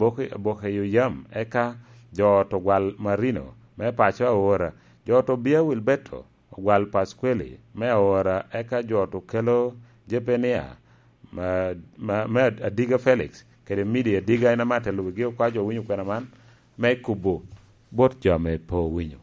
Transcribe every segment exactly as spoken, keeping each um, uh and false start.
Boki, Bokeyo Yam, eka jo ot ogwal Marino me paco Aora, jo ot Obia Wilberto ogwal Pasqueli me Aora, eka jo ot okelo Jepenia ma, ma, me Adiga Felix, kede Midi Adiga en ame atelo wigi okwa jo owinyo kwena man, me kubo bot jo ame pe owinyo.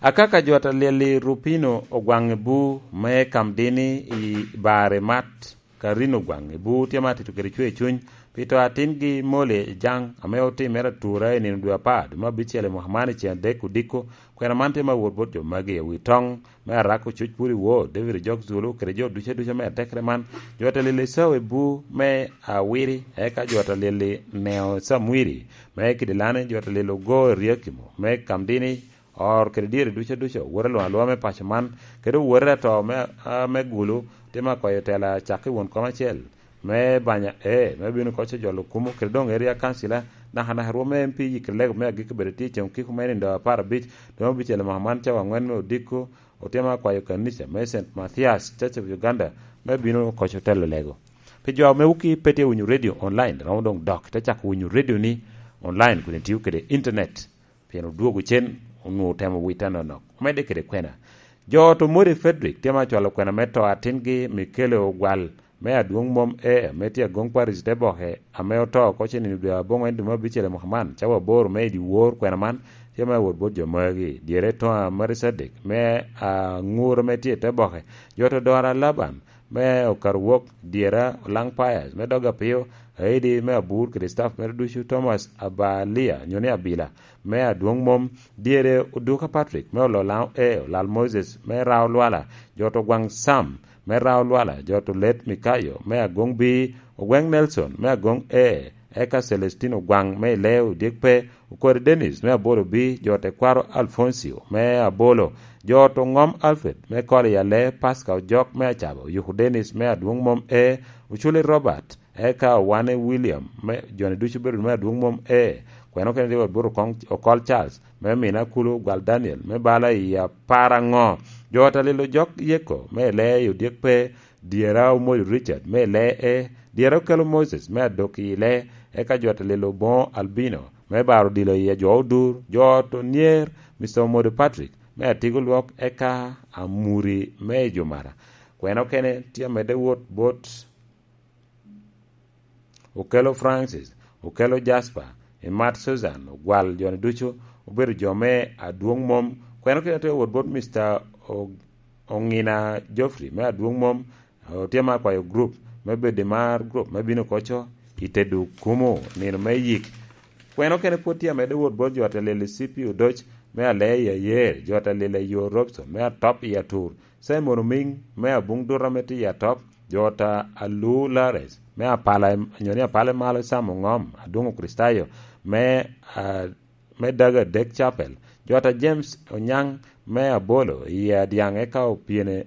Akaka jo ot alyel i Rupino ogwaŋ i bu me Kamdini i bar i mat, ka rino gwaŋ i bu tye ma atito kede cwer cuny, pi to atingi Mole Ejaŋ, ame otimere atura i nino dwe apar, dwe me abicel i mwaka man i ceng adek odiko, kwena man tye me awot bot jo magi i wi toŋ me Arako Cuc Puri Woo, David Ojok Zulu, kede jo ducu aduca me atekere man. Jo ot alyel i Sawa i bu me Awiri, eka jo ot alyel i Neo Samwiri, me Kidilani, jo ot alyel ogo i Riakimo, me Kamdini, Or kede dyere ducu aduca, owote alwoŋ alwoŋa me paco man, kede owote ato me, a, me Gulu, tye ma kwayo tela cak i won kom acel, me banya, ee, me bino koco jolo kumo, kede doŋ area councilor, nakanaka rwom me M P yikere lego me agikki bedo tye i ceng okiko me nindo apar abic, dwe me abicel i mwaka man cawa aŋwen me odiko, otye ma kwayo kanica me Saint Mathias Church of Uganda, me bino koco telo lego. Pi jo ame wuki pe tye winyo radio online, romo doŋ dok, te cako winyo radio ni online, kun itio kede internet. Pien odwogo cen, onwoŋo otemo wite anonok. Omedde kede kwena. Jo ot Omori Frederick tye ma cwalo kwena me to atingi Mikele Ogwal me Adwoŋ Mom Air, ame tye Agoŋ Parish te boke, ame oto oko cen i dwe aboŋwen dwe me abicel i mwaka man, cawa aboro me i dyewor kwena man, tye me awot bot jo magi. Dyere Toŋa Mary Cedric me Aŋur ame tye i te boke. Jo ot Odora Laban me Okarwok, dyera Olaŋ Pius me Dog Apio, Aidi me Abur kede staff mere ducu, Thomas Abalia, nyo ni Abila, me Adwoŋ Mom, dyere Oduka Patrick me Ololaŋ, ee, Olal Moses me Rao Lwala, jo ot Ogwaŋ Sam me Rao Lwala, jo ot Olet Mikayo me Agoŋ Bii, Ogweŋ Nelson me Agoŋ, ee, eka Celestino Ogwaŋ me Ileo Dyek Pe, Okori Dennis me Abolo Bii, jo ot Tekwaro Alfoncio me Abolo, jo ot Oŋom Alfred me Koli Alee, Pasca Ojok me Acaba, Oyuku Dennis me Adwoŋ Mom, ee, Oculi Robert, eka Owane William, me, jo-ni ducu obedo me Adwoŋ Mom, ee, kwena okene tye wot bot Okoŋ-, Okol Charles, me Mina Kulu, Gwal Daniel, me bala i apar aŋo? Jo ot Alilo Jok Yeko, me Ileo Dyek Pe, dyera Omoli Richard, me Ileo, ee, dyera Okelo Moses, me Adok i Ileo, eka jo ot Alilo Boŋo Albino, me Baro Odilo i Ajwo Odur, jo ot Onyer, Mister Omodo Patrick, me Atigo Lwok, eka Amuri, me Ejumara. Kwena okene tye amedde wot bot Okelo Francis, Okelo Jasper, Imat Susan, Ogwal, jo-ni ducu obedo jo me Adwoŋ Mom. Kwena okene tye wot bot Mister O-, Oŋina Geoffrey me Adwoŋ Mom, otye ma akwayo group me bedo i mar group me bino koco i Tedu Kumu nino me yik. Kwena okene pwod tye amedde wot bot jo ot Alili C P Odoc me Alea i Ayer, jo ot Alili Ayo Robson me Atop i Atur, Simon Omiŋ me Abuŋ Duto ame tye i Atop, jo ot Alu Lares me Apala, nyo ni Apala i Malo Sam Oŋom, Adwoŋ Okricitayo me, ah, me Dago Adek Chapel, jo ot James Onyaŋ me Abolo i Adyaŋ, eka opyene,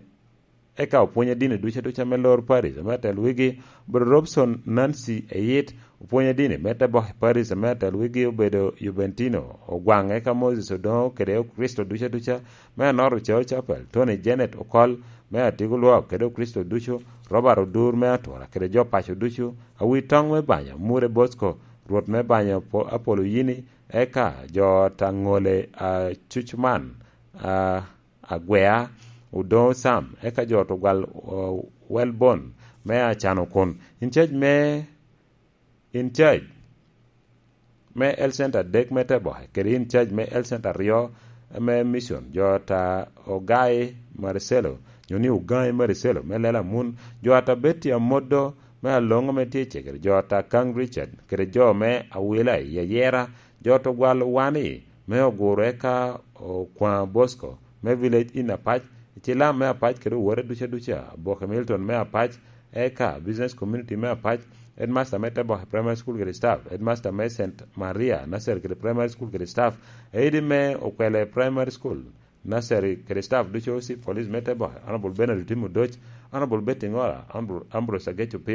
eka opwonye dini ducu aduca me lor Paris, me atel wigi, obedo Robson Nancy Eyit, opwonye dini me te bok i Paris, me atel wigi obedo Juventino Ogwaŋ, eka Moses Odoŋo kede Okricito ducu aduca me Anoro Cao Chapel, Tony Janet Okol me Atigo Lwok kede Okricito ducu, Robert Odur me Atura kede jo paco ducu, Awitoŋ me Banya, Mure Bosco, Rwot me Banya Apo-, Apolo Yini, eka jo ot Aŋole Acucman, a, Agwea, Odoŋo Sam, eka jo ot Ogwal, o, Welbon me Acano kun. In charge me, in charge me Health Center adek me Teboke, kede in charge me Health Center aryo me Mission, jo ot Ogai Marcelo, nyo ni Ogai Marcelo me Lela Mun, jo ot Betty Amodo me Aloŋo me tye i Cegere, jo ot Kang Richard, kede jo me Awila i Ayera, jo ot Ogwal Wani me Oguro, eka Okwaŋ Bosco me Village in Apac, Cilam me Apac kede owote ducu aduca, Aboke Milton me Apac, eka Business Community me Apac, Headmaster me Teboke Primary School kede staff, Headmaster me Saint Maria Nursery kede Primary School kede staff, Aidi me Okwele Primary School, Nursery kede staff ducu, Chief Police me Teboke, Honorable Bernard Otim Odoc, Honorable Betty Ngora, Honorable Ambrose Ageco Piny,